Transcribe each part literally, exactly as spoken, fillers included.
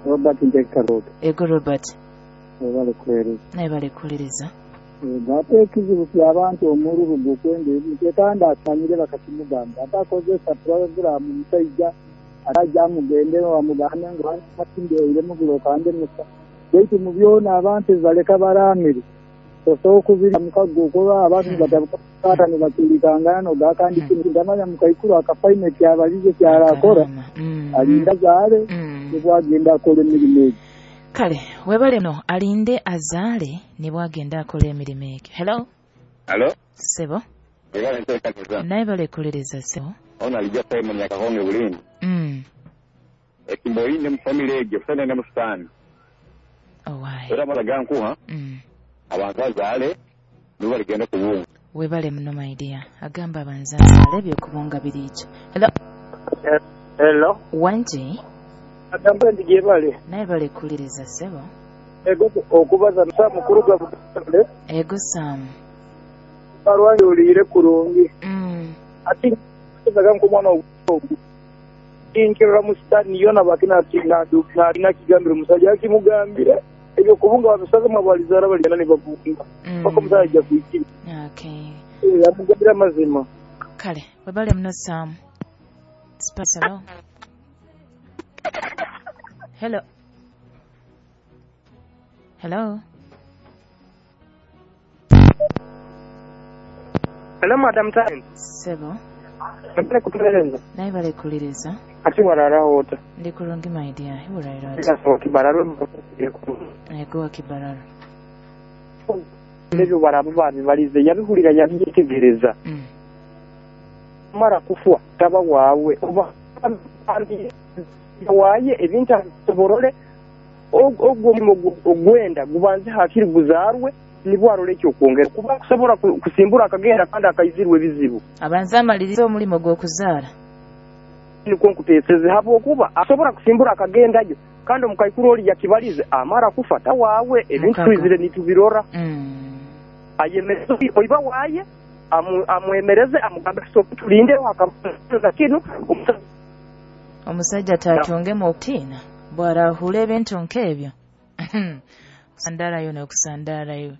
Robert Ntekarota. Ego Robert. Webale kuweereza. Naye bale kuwuliriza. Ate ekizibu ky'abantu omululu gw'okwenda ebintu ekandi asanyire bakakimugamba ate akozesa puroguramu omusajja ate ajja amugende bamugambe ngu atindeiremu gulokande musa baitu mu byona abantu baleka baramire osobola okubira mukago okuba abantu batabukaata ne bakiirikangana nogakandi kintu ndamanya mukaikuru akafaine kyabalize kyarakora alinda azaale nibwagenda akola emirimu egyo. Kale webale no alinde azaale nibwagenda akola emirimu egyo. Hello. Hello. Sebo. Webale nteekaniza. Naye bale kuwuliriza sebo. Ono alijja Simon Nyakahonge Bulindi. Mm. Ekimboyinde mu family egyo kusana ne musitaani. Owaaye. Era amala gankuha. Mm. Abantu azaale nibo baligenda kubunga. Webale muno my dear. Agamba abanza azaale byokubunga biriija. Hello. Hello. Wangi. Agamba ndi gyebale. Naye bale kuwuliriza sebo. Ego okubaza Sam kuruga Butale. Ego Sam. Barwange oliire kurungi. Mm. Ati zaga nkumwana ogu. Inkirira mu sitani yona bakina tina na na kigambira omusajja akimugambira ebyo kubunga babisaza mwabalizara baligenda ne babunga. Mm. Paka omusajja kuikira. Okay. Eh amugambira amazima. Kale webale muno Sam. Spice hello. Hello. Hello. Hello Madam Time. Sebo. Mbele kutueleza. Naye bale kuwuliriza. Ati warara wota. Ndi kurungi my dear. Iwurayira oti. Ndasaba kibararo. Ego kibararo. Ebyo barabo babibalize yabihulira yabyetegereza. Mm. Mara kufwa taba waawe oba waaye ebintu asoborole ogwo omulimu ogwenda gubanze hakiri guzaarwe nibwo arole ekyokwongera kuba kusobola kusimbura akagenda kandi akaizirwe ebizibu. Abanze amalirize omulimu gw'okuzaala. Nikwo nkuteeseze habwokuba asobola kusimbura akagendayo kandi omukaikuru oli yakibalize amara kufa tawaawe ebintu twizire nitubirora. Mm. Ayemereze oiba waaye amwemereze amugambe tusooke tulindeho akabaza kinu omusajja tatungemu okutiina bw'arahura ebintu nk'ebyo. Kusandaalayo n'okusandaalayo.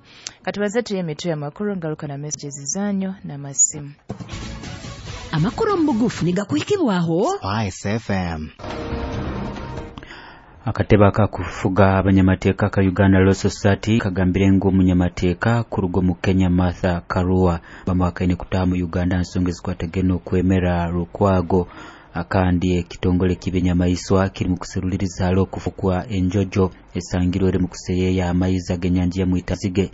Katubaze tuye emitwe y'amakuru ngaruka na messages zanyu n'amasimu. Amakuru mu bugufu nigakuhikibwaho Spice F M. Akatebe akakufuga abanyamateeka ka Uganda Law Society kagambire ngu omunyamateeka kuruga mu Kenya Martha Karua bamuhakaine kutaha mu Uganda nsonga ezikwatagene okwemera Lukwago. Akandi ekitongole ky'ebinyamaiswa kiri mu kuseruliriza hali okufukwa enjojo esangirwe eri mu kuseyeeya amaizi ag'ennyanja ya Mwitazige.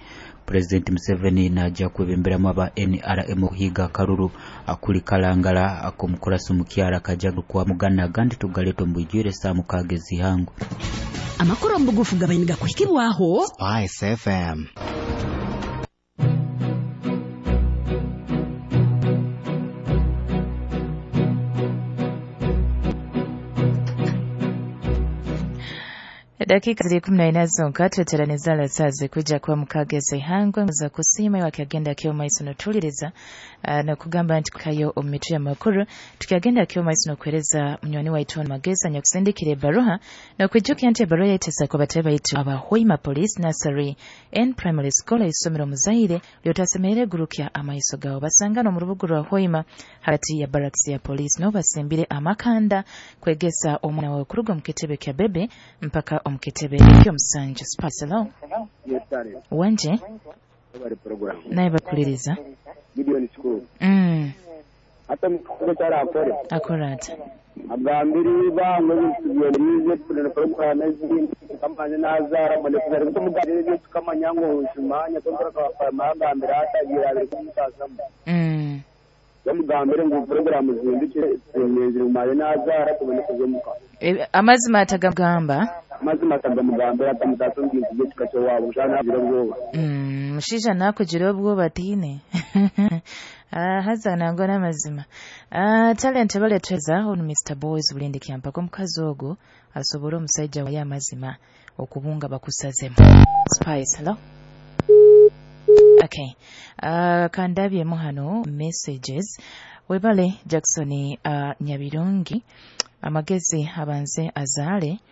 President Museveni najja kwebemberamu aba N R M okuhiga akaruru akuli kalangala ak'omukurasi omukyara kajja kwa mugana agandi tugaleeta omu bwijwire saa mukaaga ez'ihangu. Amakuru omu bugufu gabaine gakuhikibwaho Spice F M. Dakika ziri kumi na ina zonka tweteraneza saze kujja kuba mukageze ihangwe za kusiima wakyagenda kyo maiso notuliriza uh, nokugamba nti kayo omu mitwe y'amakuru tukyagenda kyo maiso nokwereza munywani waitu mageza nyakusindikira ebaruha nokwijukira nti ebaruha yaitesa ku batebe baitu aba Hoima Police Nursery and Primary School isomero muzaire lyotasemerere gurukya amaiso gawo basangana mu rubugu rwa Hoima hagati ya barracks ya police no basimbire amakanda kwegesa omwana wawe kuruga mu kitebe kya bebe mpaka omukitebe ky'omusanju. Spaselo. Yes, sir. Wanje. Bari program. Naye bakuliriza. Gideon School. Mm. Ata mukuru akore. Akora ata. Agambiri bangwe bisubiye na program ezindi kamanya nazara mane kuzari kumugambira ebyo tukamanya ngo nshimanya tonkora ka magambira atagira abiri kumutasamu. Mm. Bamugambire ngo program zindikire zimezire maye nazara tubone kuzomuka. E, amazima atagamba amazima atagamugambira atamutaso ngintu kikacho wabo shana agira obwoba. Mm, mushisha nakugira obwoba tiine. Ah, haza nangwa n'amazima. Ah, talent baletweza ono Mister Boys Bulindi kyampaka omukazi ogwo asobole omusajja waye amazima okubunga bakusazemu. Spice, hello. Okay. Uh, kandabyemu hano messages. Webale Jackson uh, Nyabirungi amagezi abanze azaale